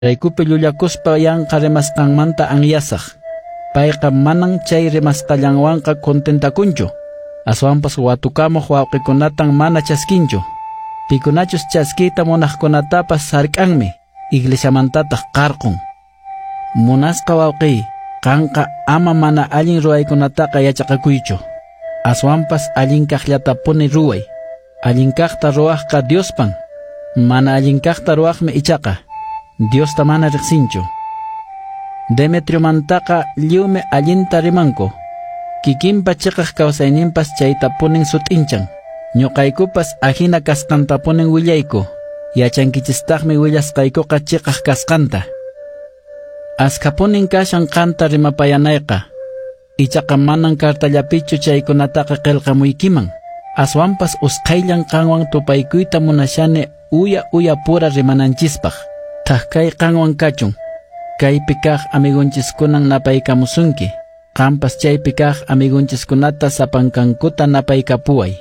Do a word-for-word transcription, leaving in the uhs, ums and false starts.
Raykupi llullakuspa yanqa rimasqanmanta anyasaq. Payqa manan chay rimasqallanwanqa contentakunchu. Aswanpas watukamuq wawqikunatan mana chaskinchu. Pikunachus chaskiyta munaqkunatapas sark'anmi, iglesiamantataq qarqun. Munasqa wawqiy, qanqa ama mana allin ruwaykunataqa yachaqakuychu. Aswanpas allin kaqllatapuni ruway. Allin kaqta ruwaqqa Diospan, mana allin kaqta ruwaqmi ichaqa Diosta mana riqsinchu. Demetriomantaqa lliwmi allinta rimanku. Kikinpa chiqaq kawsayninpas chaytapunin sut'inchan. Ñuqaykupas ahina kasqantapunin willayku. Yachankichistaqmi willasqaykuqa chiqaq kasqanta. Askapunin kashan qanta rimapayanayqa. Ichaqa manan kartallapichu chaykunataqa qillqamuykiman. Aswanpas usqhayllan qanwan tupaykuyta munashani uya uya pura rimananchispaq. Thak qanwan kachun. Kaypi kaq amigunchiskunan napaykamusunki. Qampas chaypi kaq amigunchiskunata sapankankuta napaykapuway.